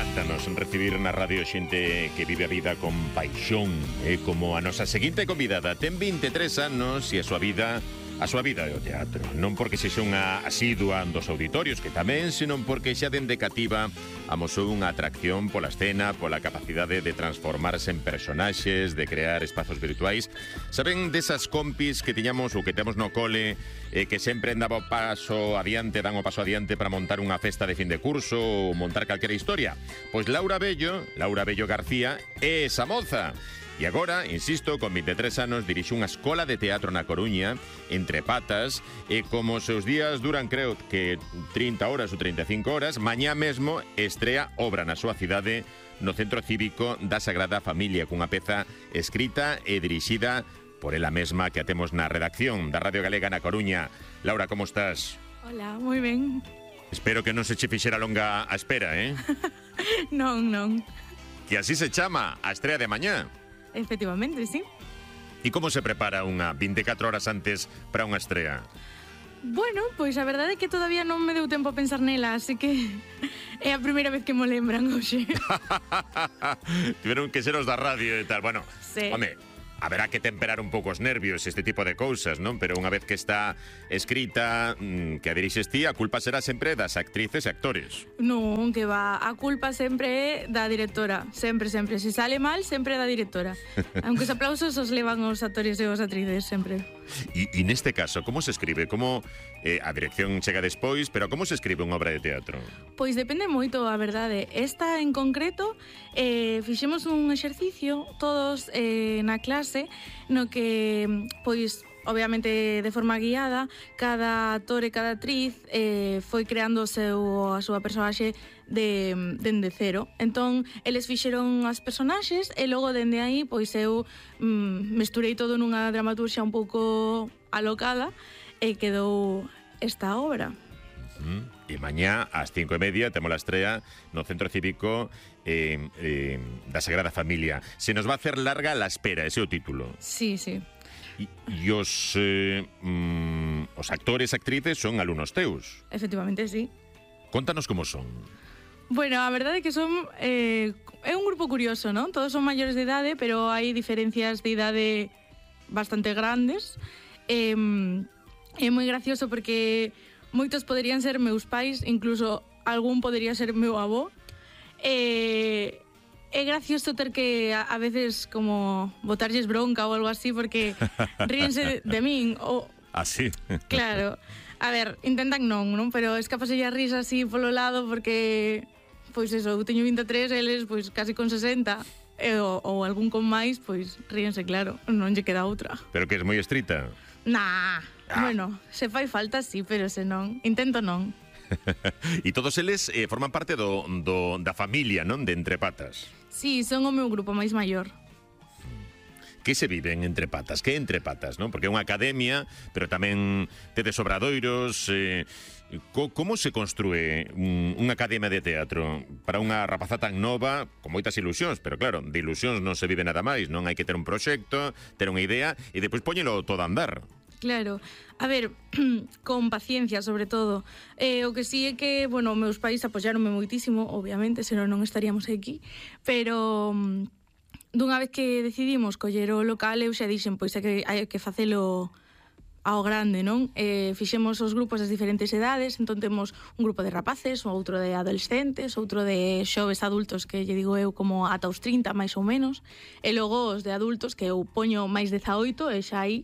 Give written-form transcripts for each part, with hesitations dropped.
Encántanos recibir na radio xente que vive a vida con paixón, como a nosa seguinte convidada. Ten 23 anos e a súa vida é o teatro. Non porque sexa unha asidua dos auditorios, que tamén, senón porque xa dende cativa amosou unha atracción pola escena, pola capacidade de transformarse en personaxes, de crear espazos virtuais. Saben desas compis que tiñamos ou que temos no cole, que sempre daba o paso adiante, dan o paso adiante para montar unha festa de fin de curso ou montar calquera historia? Pois Laura Bello García, é esa moza. E agora, insisto, con 23 anos dirixe unha escola de teatro na Coruña, Entre Patas, e como os seus días duran, creo que 30 horas ou 35 horas, mañá mesmo estrea obra na súa cidade, no Centro Cívico da Sagrada Familia, cunha peza escrita e dirixida por ela mesma, que a temos na redacción da Radio Galega na Coruña. Laura, como estás? Hola, moi ben. Espero que non se che fixera longa a espera, Non. Que así se chama a estrea de mañá. Efectivamente, sí. E como se prepara unha 24 horas antes para unha estrea? Bueno, pois a verdade é que todavía non me deu tempo a pensar nela, así que é a primeira vez que mo lembran hoxe. Tiveron que ser os da radio e tal. Bueno, sí. Home, haberá que temperar un pouco os nervios, este tipo de cousas, non? Pero unha vez que está escrita, que a dirixes ti, a culpa será sempre das actrices e actores. Non, que va, a culpa sempre é da directora, sempre. Se sale mal, sempre é da directora. Aunque os aplausos os levan os actores e os actrices, sempre. E neste caso, como se escribe? Como a dirección chega despois, pero como se escribe unha obra de teatro? Pois depende moito, a verdade. Esta en concreto, fixemos un exercicio todos na clase, no que, pois, obviamente de forma guiada, cada actor e cada actriz foi creando a súa personaxe dende cero. Entón, eles fixeron as personaxes e logo dende aí, pois eu mesturei todo nunha dramaturxia un pouco alocada e quedou esta obra. E mañá, ás 5:30, temos a estrea no Centro Cívico da Sagrada Familia. Se nos va a hacer larga la espera, ese é o título. Sí. E os actores, actrices son alumnos teus. Efectivamente, sí. Contanos como son. Bueno, a verdade é que son é un grupo curioso, non? Todos son maiores de idade, pero hai diferencias de idade bastante grandes. É moi gracioso porque moitos poderían ser meus pais, incluso algún podería ser meu avó. É gracioso ter que a veces como botarlles bronca ou algo así porque ríense de min ou... Así? Claro. A ver, intentan non, pero escapaselle a risa así polo lado porque, pois eso, eu teño 23, eles pois casi con 60 ou algún con máis, pois ríense, claro, non lle queda outra. Pero que es moi estrita? Bueno, se fai falta sí, pero se non, intento non. E todos eles forman parte da familia, non? De Entre Patas. Sí, son o meu grupo máis maior. Que se vive en Entre Patas? Que é Entre Patas, non? Porque é unha academia, pero tamén tedes obradoiros. Como se construe unha academia de teatro para unha rapaza tan nova, con moitas ilusións? Pero claro, de ilusións non se vive nada máis, non? Hai que ter un proxecto, ter unha idea e depois poñelo todo a andar. Claro, a ver, con paciencia sobre todo. O que sí é que, bueno, meus pais apoiaronme moitísimo, obviamente, senón non estaríamos aquí, pero dunha vez que decidimos coller o local, eu xa dixen, pois é que hai que facelo ao grande, non? Fixemos os grupos das diferentes edades, entón temos un grupo de rapaces, outro de adolescentes, outro de xoves adultos, que lle digo eu como ata os 30, máis ou menos, e logo os de adultos, que eu poño máis 18, e xa aí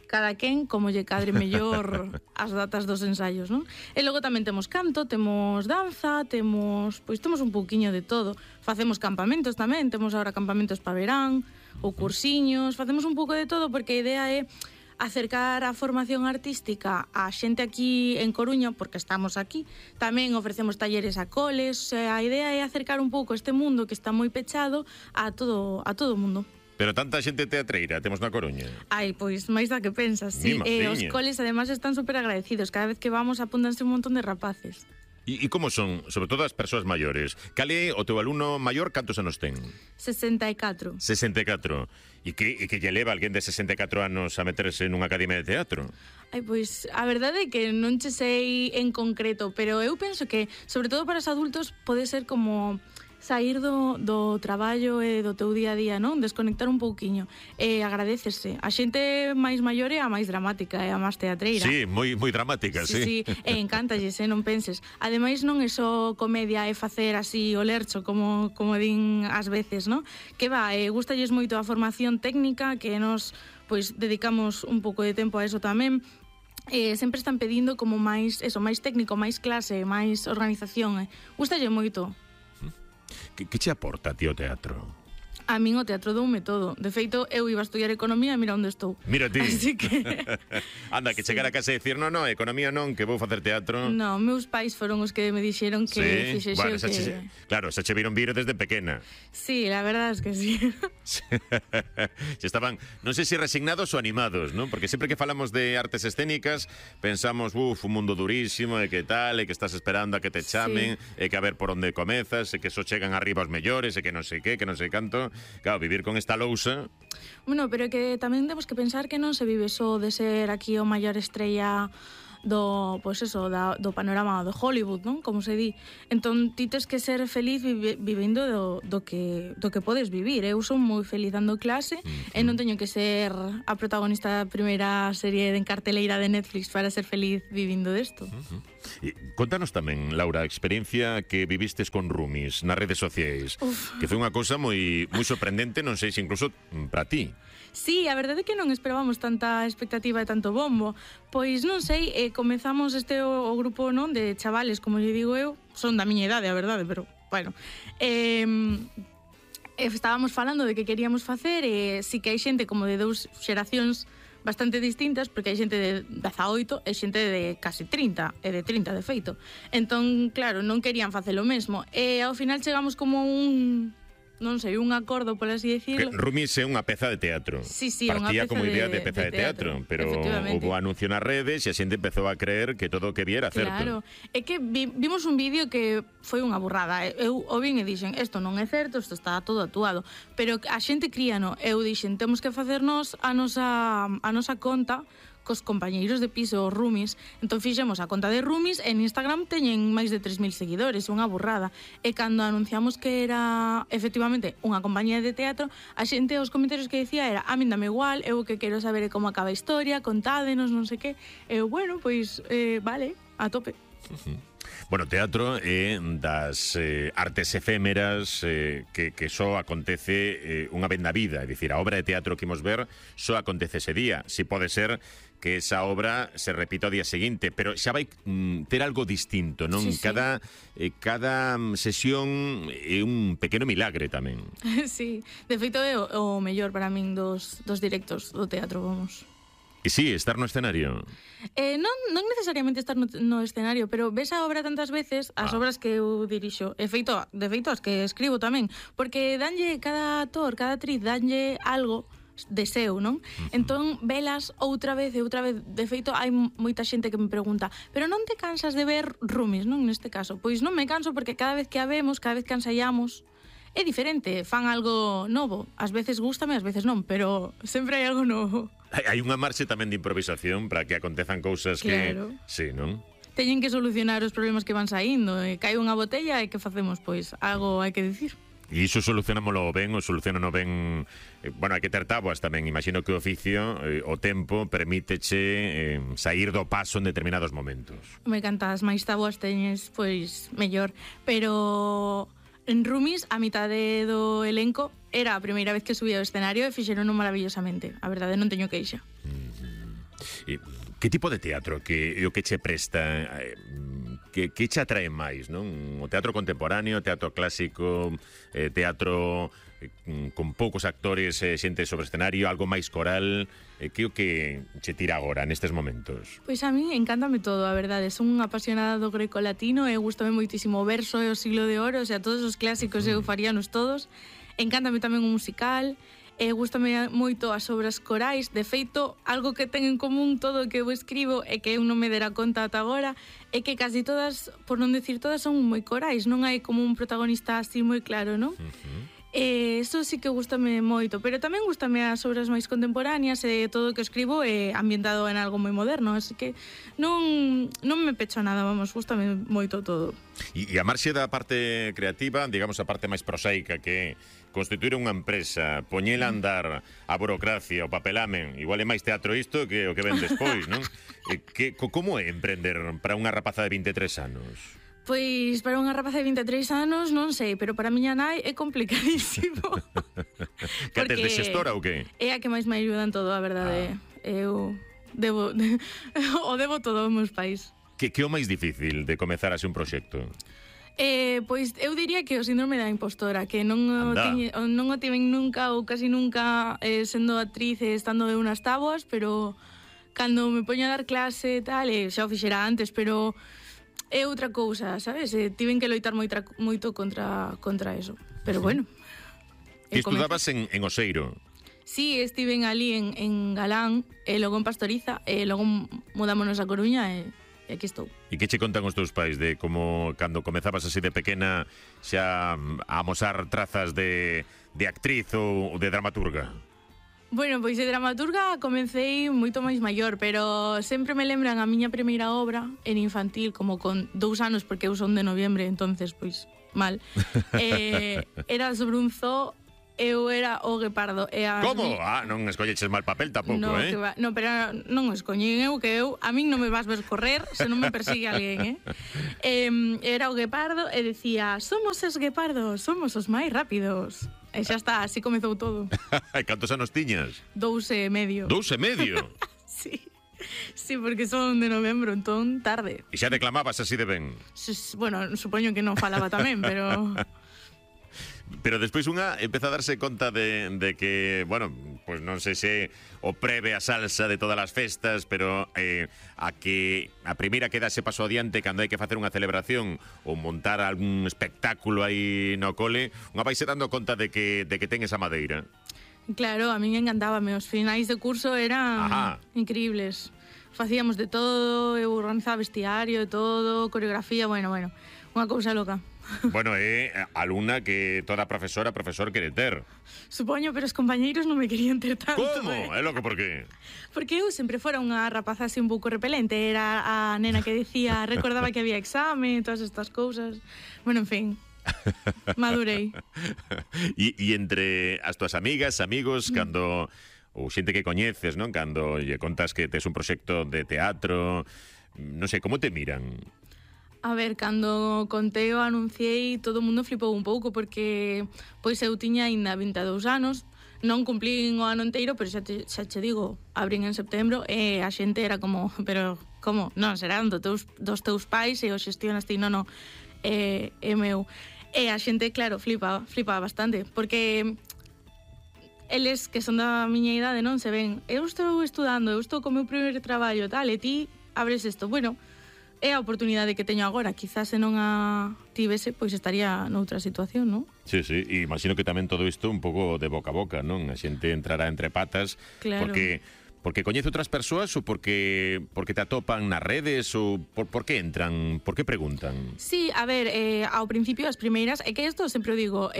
cada quen como lle cadre mellor as datas dos ensaios, non? E logo tamén temos canto, temos danza, temos un pouquiño de todo. Facemos campamentos tamén, temos agora campamentos para verán, ou cursiños, facemos un pouco de todo porque a idea é acercar a formación artística a xente aquí en Coruña, porque estamos aquí. Tamén ofrecemos talleres a coles, a idea é acercar un pouco este mundo que está moi pechado a todo o mundo. Pero tanta xente teatreira temos na Coruña. Ai, pois máis da que pensas, sí. Os coles ademais están super agradecidos. Cada vez que vamos apúntanse un montón de rapaces. E como son, sobre todo as persoas maiores? Cal é o teu alumno maior, cantos anos ten? 64. 64. E que lle leva alguén de 64 anos a meterse nunha academia de teatro? Ai, pois, a verdade é que non che sei en concreto, pero eu penso que, sobre todo para os adultos, pode ser como sair do traballo e do teu día a día, non? Desconectar un pouquiño. E agradecese. A xente máis maior é a máis dramática, é a máis teatreira. Sí, moi dramática, sí. Sí, e encántalles, non penses. Ademais non é só comedia e facer así o lercho, como din ás veces, non? Que gustalles moito a formación técnica, que nos pois dedicamos un pouco de tempo a eso tamén. Sempre están pedindo como máis técnico, máis clase, máis organización. Gustalle moito. Que che aporta, tío, teatro? A min o teatro doume todo. De feito, eu iba a estudiar economía e mira onde estou. Mira ti. Así que... Anda, que chegar a casa e dicir, no, economía non, que vou facer teatro. No, meus pais foron os que me dixeron que fixese bueno, que... Claro, xa che viron vir desde pequena. Sí, la verdad es que sí. Estaban, non sei se resignados ou animados, non? Porque sempre que falamos de artes escénicas pensamos, un mundo durísimo, e que tal, e que estás esperando a que te chamen, e que a ver por onde comezas, e que só chegan arriba os mellores, e que non sei que non sei canto. Claro, vivir con esta lousa... Bueno, pero que tamén temos que pensar que non se vive só de ser aquí o maior estrella do panorama de Hollywood, non? Como se di. Entón, ti tes que ser feliz vivendo do que podes vivir. Eu son moi feliz dando clase e non teño que ser a protagonista da primeira serie en carteleira de Netflix para ser feliz vivindo desto. Contanos tamén, Laura, a experiencia que vivistes con roomies nas redes sociais, que foi unha cousa moi sorprendente, non sei se incluso para ti. Sí, a verdade é que non esperábamos tanta expectativa e tanto bombo. Pois non sei, comezamos o grupo, non, de chavales, como lle digo eu, son da miña idade, a verdade, pero, bueno, estábamos falando de que queríamos facer e sí que hai xente como de 2 xeracións bastante distintas, porque hai xente de 18 e xente de casi 30, e de 30 de feito. Entón, claro, non querían facer o mesmo. E ao final chegamos como non sei, un acordo, por así decirlo. Roomies é unha peza de teatro. Sí, partía unha peza como idea de peza de teatro, pero houve anuncio nas redes e a xente empezou a creer que todo o que viera certo. Claro, é que vimos un vídeo que foi unha burrada. Eu o vin e dixen, isto non é certo, isto está todo actuado. Pero a xente críano. Eu dixen, temos que facernos a nosa conta cos compañeiros de piso, os roomies. Entón fixemos a conta de roomies e en Instagram teñen máis de 3.000 seguidores, unha burrada. E cando anunciamos que era efectivamente unha compañía de teatro, a xente, os comentarios que decía era, a min dame igual, eu que quero saber como acaba a historia, contádenos, non sei que. Eu, bueno, pois, vale, a tope. Bueno, teatro é das artes efémeras que só acontece unha vez na vida. É dicir, a obra de teatro que imos ver só acontece ese día. Si pode ser que esa obra se repita o día seguinte, pero xa vai ter algo distinto, non? Sí. Cada sesión é un pequeno milagre tamén. Sí, de feito é o mellor para min dos directos do teatro, vamos. E sí, estar no escenario. Non necesariamente estar no escenario, pero ves a obra tantas veces, as obras que eu dirixo, de feito as que escribo tamén, porque danlle cada actor, cada actriz, danlle algo de seu, non? Entón, velas outra vez, de feito, hai moita xente que me pregunta, pero non te cansas de ver roomies, non? Neste caso, pois non me canso porque cada vez que a vemos, cada vez que ensaiamos, é diferente, fan algo novo. Ás veces gústame, ás veces non, pero sempre hai algo novo. Hai unha marxe tamén de improvisación para que acontezan cousas claro. que... Sí, non? Teñen que solucionar os problemas que van saindo. Cae unha botella e que facemos? Pois algo hai que dicir. E iso solucionámoslo ben, ou solucionano ben... Bueno, hai que ter táboas tamén. Imagino que o oficio, o tempo, permíteche sair do paso en determinados momentos. Me cantas, máis táboas teñes, pois mellor. Pero... En roomies, a mitade do elenco era a primeira vez que subía ao escenario e fixerono maravillosamente. A verdade, non teño queixa. Que tipo de teatro que o que che presta? Que che atrae máis, non? O teatro contemporáneo, teatro clásico, teatro con poucos actores, xente sobre escenario, algo máis coral... Que o que che tira agora nestes momentos? Pois a mí encántame todo, a verdade. Son unha apasionada do greco-latino e gustame moitísimo o verso e o siglo de oro, o sea, todos os clásicos eu faríanos todos. Encántame tamén o musical, gustame moito as obras corais. De feito, algo que ten en común todo o que eu escribo e que eu non me dera conta ata agora é que casi todas, por non decir todas, son moi corais. Non hai como un protagonista así moi claro, non? Eso sí que gustame moito, pero tamén gustame as obras máis contemporáneas e todo o que escribo é ambientado en algo moi moderno, así que non me pecho nada, vamos, gustame moito todo. E a marxe da parte creativa, digamos a parte máis prosaica, que é constituir unha empresa, poñela a andar, a burocracia, o papelamen, igual é máis teatro isto que o que ven despois, non? Como é emprender para unha rapaza de 23 anos? Pois para unha rapaza de 23 anos non sei, pero para a miña nai é complicadísimo. Que tes de xestora ou que? É a que máis me ayuda en todo, a verdade. Eu debo todo aos meus pais. Que é o máis difícil de comezar así un proxecto? Pois eu diría que o síndrome da impostora, que non o tiven nunca ou casi nunca sendo actriz e estando de unas táboas, pero cando me poño a dar clase e tal, xa o fixera antes, pero é outra cousa, sabes? Tiven que loitar moito contra eso. Pero bueno. Ti estudabas en Oseiro? Sí, estiven ali en Galán, e logo en Pastoriza, e logo mudámonos a Coruña e aquí estou. E que che contan os teus pais de como cando comezabas así de pequena xa a amosar trazas de actriz ou de dramaturga? Bueno, pois de dramaturga comecei moito máis maior, pero sempre me lembran a miña primeira obra en infantil, como con 2 anos, porque eu son de noviembre, entonces, pois, mal. Era sobre un zoo, eu era o guepardo. Como? Non escolleches mal papel tampouco, no, no, pero non escoñín eu, que eu, a min non me vas ver correr se non me persigue alguén, Era o guepardo e decía, somos os guepardos, somos os máis rápidos. E xa está, así comezou todo. Cantos anos tiñas? 2 e medio. 2 e medio? Sí, porque son de novembro, entón tarde. E xa declamabas así de ben? Bueno, supoño que non falaba tamén, pero... Pero despois unha empeza a darse conta de que, bueno, pues non sei se o preve a salsa de todas as festas, pero a primeira que dase paso adiante cando hai que facer unha celebración ou montar algún espectáculo aí no cole, unha vaise dando conta de que ten esa madeira. Claro, a min encantábame, os finais de curso eran increíbles. Facíamos de todo, eu organizaba vestiario e todo, coreografía, bueno, unha cousa loca. Bueno, é alumna que toda profesor quere ter. Supoño, pero os compañeiros non me querían ter tanto. Como? É loco, por qué? Porque eu sempre fora unha rapaza así un pouco repelente. Era a nena que decía, recordaba que había exame, todas estas cousas. Bueno, en fin, madurei. E entre as túas amigas, amigos, cando... ou xente que coñeces, non? Cando lle contas que tes un proxecto de teatro, non sei, como te miran? A ver, cando contei o anunciei, todo o mundo flipou un pouco, porque pois eu tiña aínda 22 anos, non cumplín o ano inteiro, pero xa che digo, abrín en setembro, e a xente era como, pero como? Non, serán dos teus pais e o xestionas ti, non, é meu. E a xente, claro, flipa bastante, porque eles que son da miña idade non se ven, eu estou estudando, eu estou co meu primeiro traballo, tal, e ti abres isto, bueno, é a oportunidade que teño agora, quizás se non a tivese, pois estaría noutra situación, non? Sí, e imagino que tamén todo isto un pouco de boca a boca, non? A xente entrará entre patas, claro. Porque coñece outras persoas ou porque te atopan nas redes ou por que entran, por que preguntan? Sí, a ver, ao principio as primeiras, é que isto sempre o digo,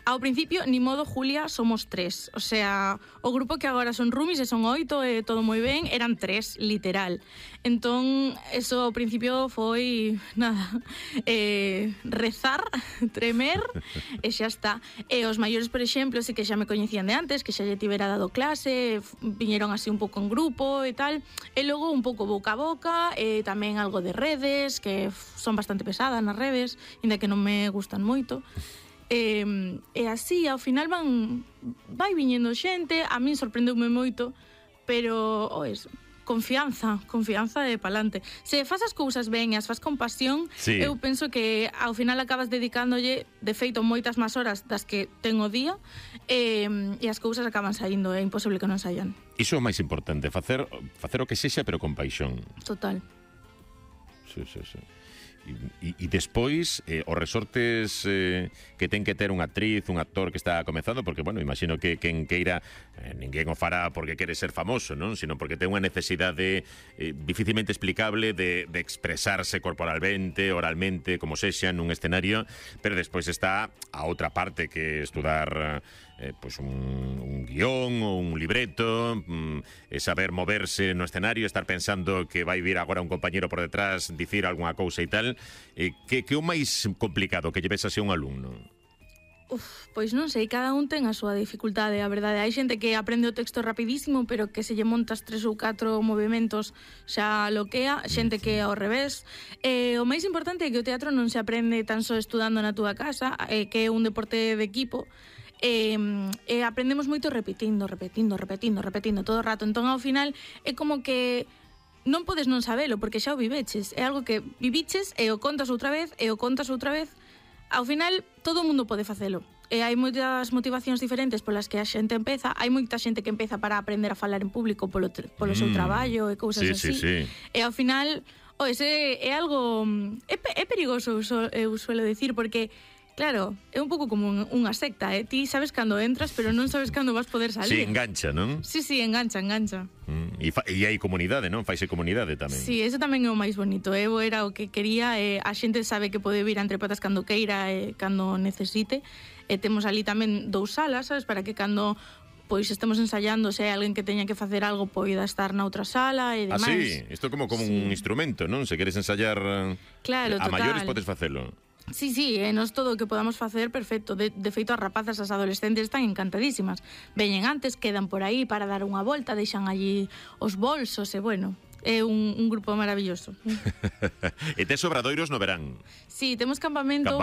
ao principio, ni modo Julia, somos 3. O sea, o grupo que agora son roomies e son 8 e todo moi ben, eran 3, literal. Entón, eso ao principio foi, nada, rezar, tremer, e xa está. E os maiores, por exemplo, sí que xa me coñecían de antes, que xa lle tivera dado clase, viñeron así un pouco en grupo e tal, e logo un pouco boca a boca, e tamén algo de redes, que son bastante pesadas nas redes, inda que non me gustan moito. E así, ao final vai viñendo xente, a min sorprendeume moito, pero confianza de palante. Se fas as cousas ben e as fas con pasión, sí. Eu penso que ao final acabas dedicándolle, de feito, moitas máis horas das que ten o día, e as cousas acaban saindo, é imposible que non saian. Iso é o máis importante, facer o que sexa, pero con paixón. Total. Sí. E despois, os resortes que ten que ter unha actriz, un actor que está comezando, porque, bueno, imagino que quen queira, ninguén o fará porque quere ser famoso, non? Sino porque ten unha necesidade dificilmente explicable de expresarse corporalmente, oralmente, como sexa, nun escenario, pero despois está a outra parte que estudar pues un guión ou un libreto, saber moverse no escenario, estar pensando que vai vir agora un compañero por detrás dicir algunha cousa e tal. Que é o máis complicado que lleves así un alumno? Pois non sei, cada un ten a súa dificultade, a verdade. Hai xente que aprende o texto rapidísimo, pero que se lle montas 3 ou 4 movimentos xa loquea, xente que ao revés. O máis importante é que o teatro non se aprende tan só estudando na túa casa, que é un deporte de equipo, aprendemos moito repetindo todo o rato. Entón, ao final, é como que non podes non sabelo, porque xa o viveches. É algo que viviches e o contas outra vez, Ao final, todo o mundo pode facelo. Hai moitas motivacións diferentes polas que a xente empeza. Hai moita xente que empeza para aprender a falar en público polo seu traballo e cousas así. Sí. E ao final, é algo... É perigoso, eu suelo decir, porque... Claro, é un pouco como unha secta, Ti sabes cando entras, pero non sabes cando vas poder salir. Sí, engancha, non? Sí, engancha. E hai comunidade, non? Faise comunidade tamén. Sí, eso tamén é o máis bonito. Eu era o que quería, a xente sabe que pode vir a Entre Patas cando queira e cando necesite. Temos ali tamén 2 salas, sabes, para que cando pois estemos ensayando, se hai alguén que teña que facer algo, poida estar na outra sala e demais. Sí, isto como un instrumento, non? Se queres ensayar claro, a maiores podes facelo. Sí, nos todo o que podamos facer, perfecto. De feito, as rapazas, as adolescentes están encantadísimas. Veñen antes, quedan por aí para dar unha volta, deixan allí os bolsos e, bueno, é un grupo maravilloso. E tes obradoiros no verán? Sí, temos campamento.